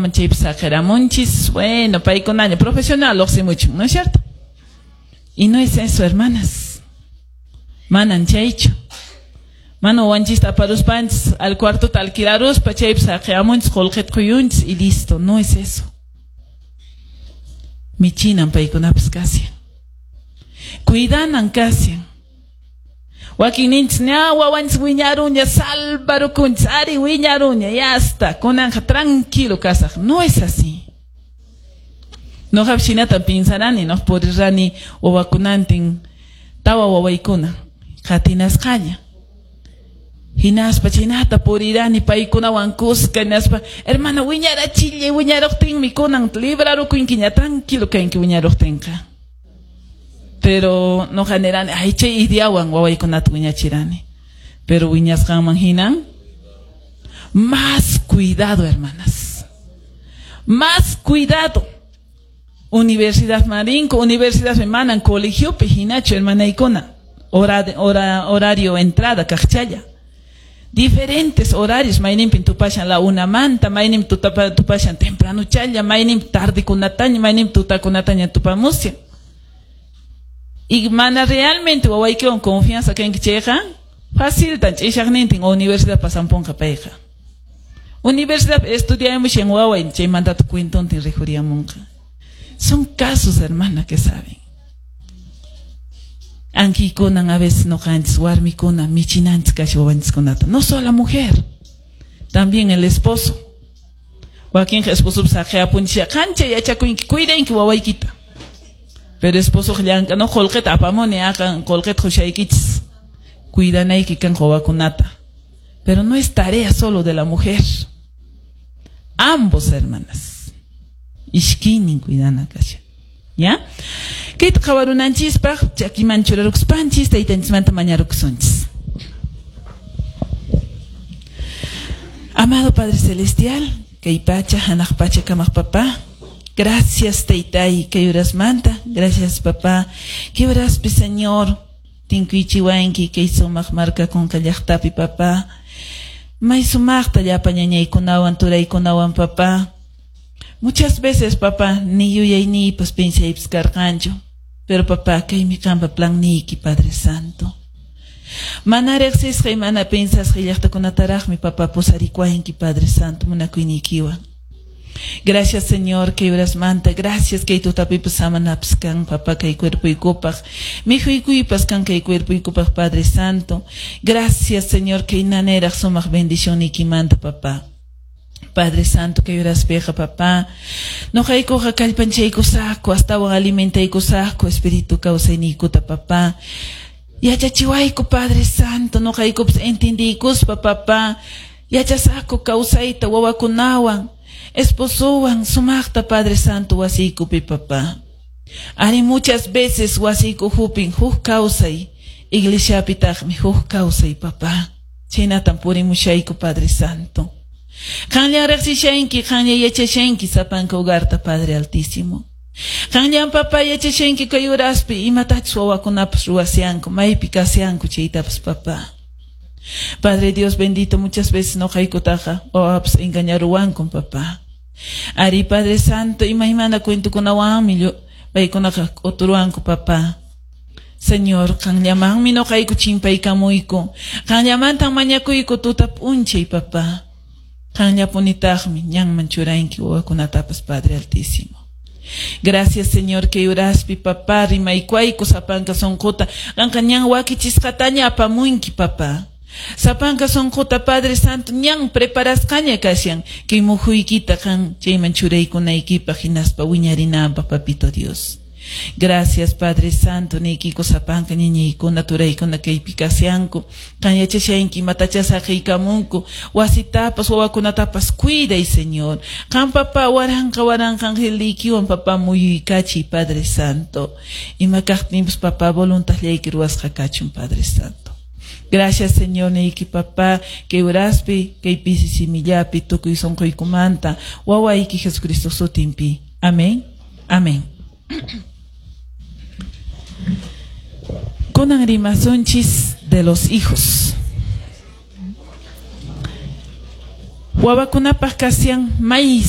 wawakunaman chaypi saqiramunchis, bueno, paykunaña profesional lluqsimuchun, ¿no es cierto? Y no es eso, hermanas. Manan chaychu. Mana wawanchista aparuspanchis al cuartota alquilaruspa chaypi saqiamunchis qullqita quyunchis y listo, no es eso. Michinan paykunapas kashan. Cuidanan kashan. Wakinninchis ña wawanchis wiñaruña salvarukunchis, ari wiñaruña, ya está, kunanqa tranquilo kasaq. No es así. Noqapas hinata pinsarani, no purirani wawakunantin tawa wawaykuna qatinasqaña. Hinaspa chaynata purirani paykunawan kuska, hinaspa hermana wiñarachillay, wiñaruqtinmi kunan librarukunkiña, tranquilo kanki wiñaruqtinqa. Pero noqa nirani, ay chay ideawan wawaykunata wiñachirani. Pero wiñasqanman hinan más cuidado, hermanas. Más cuidado. Universidad Marinco, Universidad manan colegiopi hinachu hermanaykuna. Horario entrada kaqchalla. Diferentes horarios, mayninpin tupashan la una manta, mayninpi tupashan temprano challa, mayninpi tardekunataña, mayninpi tutakunataña tupamushan. Y mana realmente wawaykiwan confianza kanki chayqa, faciltan ch'ishaqnintin universidad pasampunqa payqa. Universidad estudiamushan waway chaymantata cuentontin rikhuriyamunqa. Son casos, hermana, que saben. Ankikunan a veces noqanchis warmikuna michinanchis kasha wawanchiskunata. No solo la mujer, también el esposo. Wakinqa esposopas saqiapunchisha qancha yachakunki, cuidanki wawaykita. Pero esposo llank'a no qullqita apamuni, aqan qullqita qushaykichis. Cuidanayki kan wawakunata. Pero no es tarea solo de la mujer. Ambos, hermanas. Ishkinin cuidana kasha. ¿Ya? Kayta qhawarunanchispaq chakiman churarukuspanchis taytanchismanta mañarukusunchis. Amado Padre Celestial, kay pacha, hanaq pacha kamaq papá. Gracias, taytay, kay urasmanta. Gracias, papá. Kay uraspi, Señor, tinkuychiwanki kay sumaq markakunqa llaqtapi, papá. May sumaqta llapa ñañaykunawan, turaykunawan, papá. Muchas veces, papá, ni yuyayniypas pensaypas karqanchu. Pero, papá, kaymi qanpa planniyki, Padre Santo. Mana riqsisqay, mana pensasqay llaqtakunataraqmi, papá, pusarikuwanki, Padre Santo, munakuyniykiwan. Gracias, Señor, kay urasmanta. Gracias, kay tutapipas samanapas kan, papá, kay cuerpoykupaq. Mikhuykuypas kan kay cuerpoykupaq, Padre Santo. Gracias, Señor, kay naneraq sumaq bendicionniykimanta, papá. Padre Santo, kay uraspiqa, papá. Noqaykuqa kallpanchaykusaqku, astawan alimentaykusaqku, espíritu kawsayniykuta, papá. Yachachiwayku, Padre Santo, noqaykupas entendiykuspa, papá. Yachasaqku kawsayta wawakunawan, esposowan, sumaqta, Padre Santo, wasiykupi, papá. Ari muchas veces wasiyku hupin huk kawsay, iglesiapitaqmi huk kawsay, papá. Chaynatan purimushayku, Padre Santo. Qanllan riqsishanki, qanlla yachashanki sapanka hogarta, Padre Altísimo. Qanllan, papá, yachashanki kay uraspi imatachus wawakunapas ruwasyanku, maypi kasyanku chaytapas, papá. Padre Dios bendito, muchas veces noqaykutaqa wawapas engañaruwankun, papá. Ari, Padre Santo, imaymana cuentokunawanmi paykunaqa k'uturuwanku, papá. Señor, qanllamanmi noqayku chimpaykamuyku. Qanllamantan mañakuyku tuta p'unchay, papá. Qanllapunitaqmi ñanman churanki wawakunatapas, Padre Altísimo. Gracias, Señor, kay uraspi, papá, rimaykuayku sapanka sunquta. Qanqa ñan wakichisqataña apamunki, papá. Sapanka sunquta, Padre Santo, ñan preparasqaña kashan kay muhuykita qan chayman churaykunaykipaq hinaspa wiñarinanpaq, papito Dios. Gracias, Padre Santo, niykiko sapanka ñañaykuna, turaykuna kaypi kasyanku. Qan yachashanki imatacha saqiykamunku. Wasitapas, wawakunatapas cuiday, Señor. Qan, papá, waranqa waranqa angeliykiwan, papá, muyuykachiy, Padre Santo. Ima kaqtinpas, papá, voluntadllayki ruwasqa kachun, Padre Santo. Gracias, Señor, niyki, papá, kay uraspi, kay pisi simillapi, tukuy sunquykumanta, wawayki Jesucristo sutinpi. Amén. Amén. Kunan rimasunchis de los hijos. Wawakunapaq kasyan may